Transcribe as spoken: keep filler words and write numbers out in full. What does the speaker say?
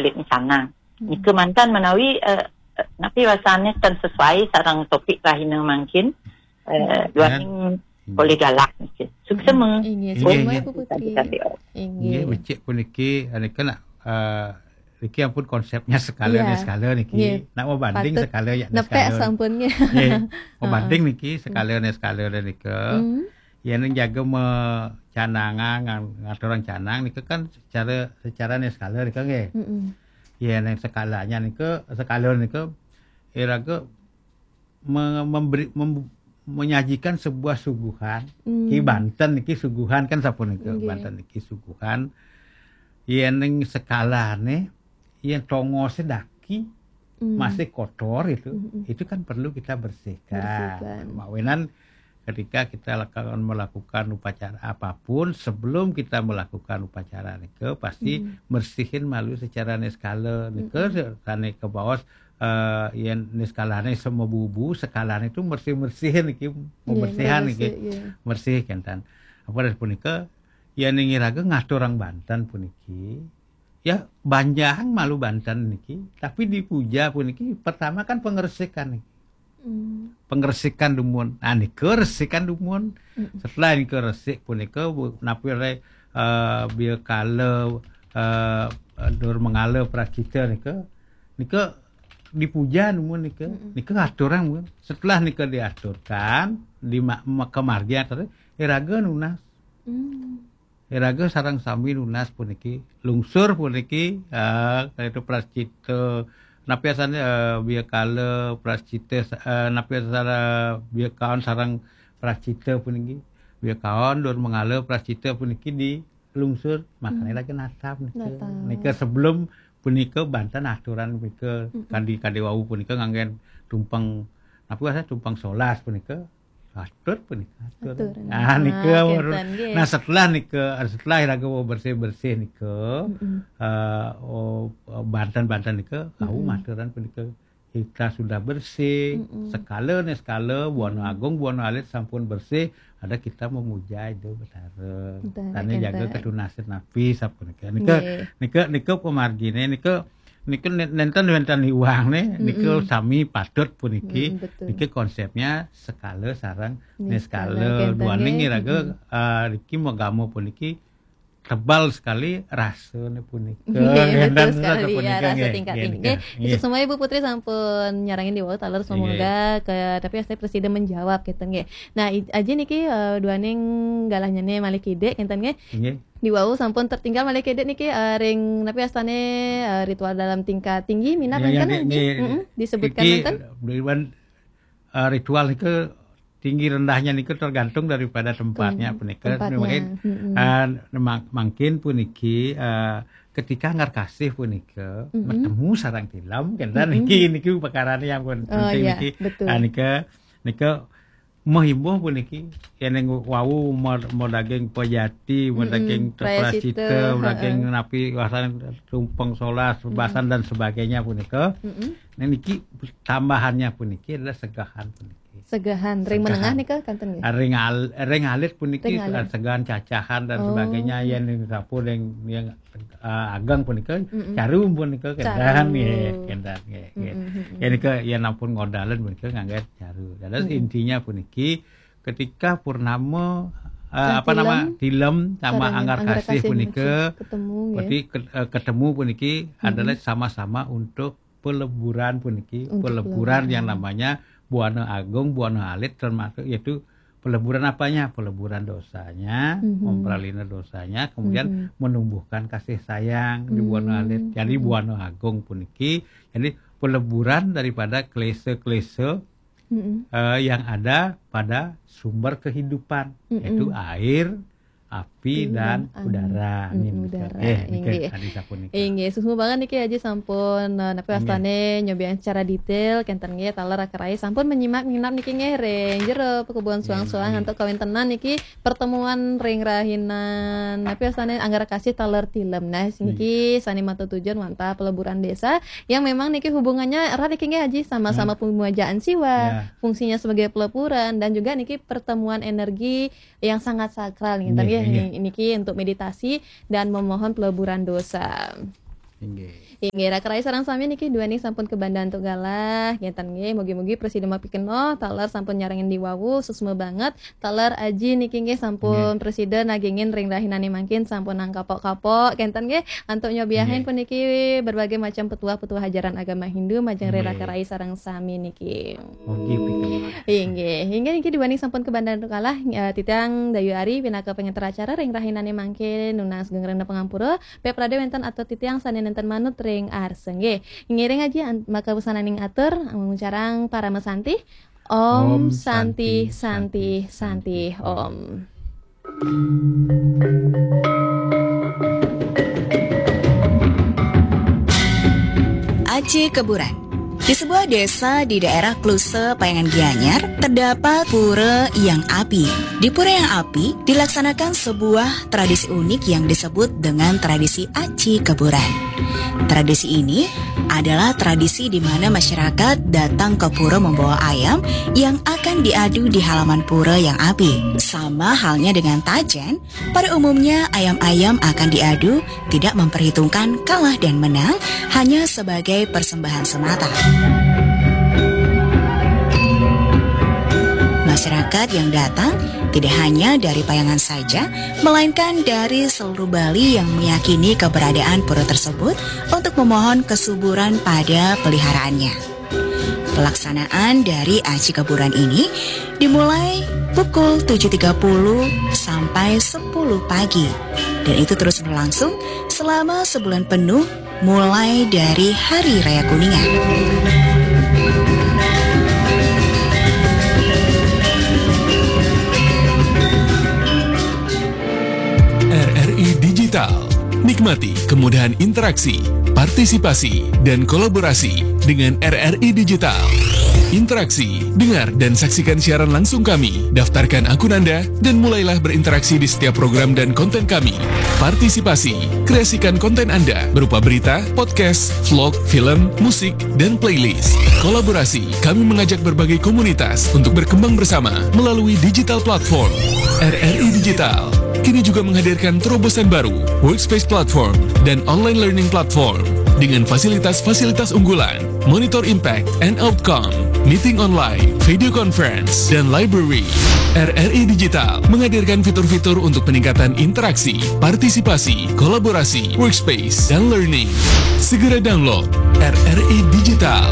Di sana. Nika mantan menawi, eh, eh, napi wasané ten sesuai sareng topik rahina mangkin. Eh, duaning polih galak niki. Suksema. Inggih, Inggih, suksema inggih. Bu Putri. Tadi, oh. Inggih, Inggih. becik puniki, nika nak, eh, niki ampun konsepnya sekala Iya. dan sekala niki. Inggih. Nak membanding Patut sekala ya dan nepek sekala. sampun nggih. Nggih, membanding niki sekala dan sekala dan nika. Hmm. Ya ning jaga me canangan ngan- ngaturang canang nika kan secara secara dan sekala nika nggih. Mm-mm. Ya ning sekalanya nika sekala nika iraga me, memberi mem, menyajikan sebuah suguhan. Hmm. Ki banten niki suguhan kan sapunika. Nggih. Banten niki suguhan. Yen ning sekalane, yen tongose daki Hmm. masih kotor itu, Mm-mm. itu kan perlu kita bersihkan. Bersihkan. Mawinan ketika kita akan melakukan upacara apapun, sebelum kita melakukan upacara nika pasti Hmm. bersihin malu secara niskala nika sane kebaos eh yen niskalane sama bubu, sekalane itu bersih-bersihin niki, pembersihan Iya, niki. bersih, iya. Bersih kenten. Apa dah punika? Ya ning iraga ngaturang banten puniki. Ya banjang malu banten niki, tapi di puja puniki pertama kan pengersikan niki. Hmm. Pengersikan dumun. Nah, nika resikan dumun. Setelah nika resik punika bu- napi re eh biakala eh dur mengala pracita nika. Nika dipuja dumun nika. Nika ngaturang dumun. Setelah nika diaturkan di ma- ma- kemargian tadi iraga nunas. Hmm. Iraga sareng sami nunas puniki, lungsur puniki, eh, kaitu prascita, napi asane eh, biakala prascita, eh, napi asane biakaon sareng prascita puniki, biakaon dur mengala prascita puniki di lungsur, makanya lagi natap nika. Natap. Nika sebelum punika banten aturan punika kadi kadi wau punika nganggen tumpeng napi asane tumpeng solas punika atur punika atur. Atur. Nah, nika Ah, baru- kenten, nggih. Nah, setelah nika setelah iraga bersih-bersih nika Mm-mm. eh oh, banten-banten nika kau maturan punika kita sudah bersih, sekala nih sekala buana agung buana alit sampun bersih, ada kita memuja itu Betara. Betara, Tane jaga kenten. ketunasan napi sapunika. Nika Nggih. nika nika pemargine nika nika ne- nenten wenten hiwang ne nika sami patut puniki. Mm, betul. Niki konsepnya sekala sareng Niskala, niskala kenten, duaning nggih. iraga eh, niki magama puniki tebal sekali rasane punika. Nggih, betul Dan sekali punika, ya, rasa nggih, tingkat nggih, tinggi. nggih, Nggih, Ibu Putri sampun nyarengin di wau taler semoga ke tapi asli presiden menjawab gitu nggih. Nah, i- aja niki eh, duaning galahnya nih malih kidik kenten nggih. Nggih. Di wau sampun tertinggal malih kidik niki eh, ring napi astane eh, ritual dalam tingkat tinggi minat Ya, ya, kan nggih, Haji? nggih. Mm-mm, disebutkan Iki, kan? Dewan, eh, ritual itu tinggi rendahnya niku tergantung daripada tempatnya Hmm, punika. tempatnya. Mungkin, Mm-mm. eh, mang- mangkin puniki eh, ketika ngarkasih punika bertemu sarang tilam kenten niki niki perkara yang pun Oh, penting iya, niki. betul. Ah, nika nika mehimbuh puniki yen wau mau, mau daging pejati, mau Mm-mm, daging prayascita, prayascita, mau daging heeh. Napi wasan tumpeng solas, basan dan sebagainya punika. Mm-mm. Nah, niki tambahannya puniki adalah segahan puniki. Segahan ring Segahan. Menengah nika kanten nggih. Ring al, ring alit puniki Ring alit. segahan cacahan dan Oh. sebagainya yen ning sapu ring yang eh, ageng punika Mm-mm. caru punika Caru. Kenten nggih, kenten nggih. Nggih. Mm-mm, mm-mm. Yen nika yen ampun ngodalan punika ngangge caru. Dados Mm-mm. intinya puniki ketika purnama eh, Nah, apa nama tilem tilem sama sareng anggar anggar kasih kasih punika ketemu nggih. berarti ke- eh, ketemu puniki adalah sama-sama untuk peleburan puniki, Untuk peleburan yang peleburan. Namanya buana agung, buana alit termasuk yaitu peleburan apanya? Peleburan dosanya, Mhm. memperalina dosanya, kemudian Mhm. menumbuhkan kasih sayang di buana Hmm. alit. Jadi buana agung puniki, jadi peleburan daripada klise-klise Mm-mm. eh, yang ada pada sumber kehidupan, Mm-mm. yaitu air, api, Api dan dan udara. angin. Ini Mm, nika. udara. Eh, nika Inggih. Tadi sapunika. Inggih, suksma banget niki Haji sampun eh, napi Inggih. Wastane nyobian secara detail kenten nggih taler akerai sampun menyimak nginap niki nggih ring jero pekubuhan suang-suang Inggih. Antuk kawintenan niki pertemuan ring rahinan napi Wastane anggar kasih taler tilem. Nah, niki sane matur tujuan wantah peleburan desa yang memang niki hubungannya erat niki nggih Haji sama-sama pemujaan siwa. Ya. Fungsinya sebagai peleburan dan juga niki pertemuan energi yang sangat sakral nih, Inggih, ya, inggih. Niki untuk meditasi dan memohon peleburan dosa. Inggih. Inggih, raka rai sareng sami niki duaning sampun kabanda antuk galah. Ngénten nggih, mugi-mugi prasida mapikenoh, taler sampun nyarengin diwawu, suksma banget. Taler Aji niki nggih sampun prasida nagingin ring rahinané mangkin sampun nangkapok-kapok. Ngénten nggih, antuk nyobiahin puniki berbagai macam petuah-petuah ajaran agama Hindu majeng ring raka rai sareng sami niki. Inggih, inggih niki duaning sampun kabanda antuk galah, eh, titiang Dayu Ari pinaka pangenter acara ring rahinané mangkin nunas geng rena pangampura. Pepradé wénten atur titiang sané nénten manut ring arsa nggih. Ngiring Aji an-, maka wusananing atur, amuncarang parama santi. Om Santi, Santi, Santi, Om. Aci Keburan. Di sebuah desa di daerah Kluse, Payangan Gianyar, terdapat pura yang api. Di pura yang api dilaksanakan sebuah tradisi unik yang disebut dengan tradisi Aci Keburan. Tradisi ini adalah tradisi di mana masyarakat datang ke pura membawa ayam yang akan diadu di halaman pura yang api. Sama halnya dengan tajen, pada umumnya ayam-ayam akan diadu tidak memperhitungkan kalah dan menang, hanya sebagai persembahan semata. Masyarakat yang datang tidak hanya dari Payangan saja, melainkan dari seluruh Bali yang meyakini keberadaan pura tersebut untuk memohon kesuburan pada peliharaannya. Pelaksanaan dari Aci Keburan ini dimulai pukul tujuh tiga puluh sampai sepuluh pagi. Dan itu terus berlangsung selama sebulan penuh, mulai dari Hari Raya Kuningan. R R I Digital. Nikmati kemudahan interaksi, partisipasi, dan kolaborasi dengan R R I Digital. Interaksi, dengar dan saksikan siaran langsung kami, daftarkan akun Anda, dan mulailah berinteraksi di setiap program dan konten kami. Partisipasi, kreasikan konten Anda berupa berita, podcast, vlog, film, musik, dan playlist. Kolaborasi, kami mengajak berbagai komunitas untuk berkembang bersama melalui digital platform. R R I Digital kini juga menghadirkan terobosan baru, Workspace Platform dan Online Learning Platform, dengan fasilitas-fasilitas unggulan, monitor impact and outcome, meeting online, video conference, dan library. R R I Digital menghadirkan fitur-fitur untuk peningkatan interaksi, partisipasi, kolaborasi, workspace, dan learning. Segera download R R I Digital.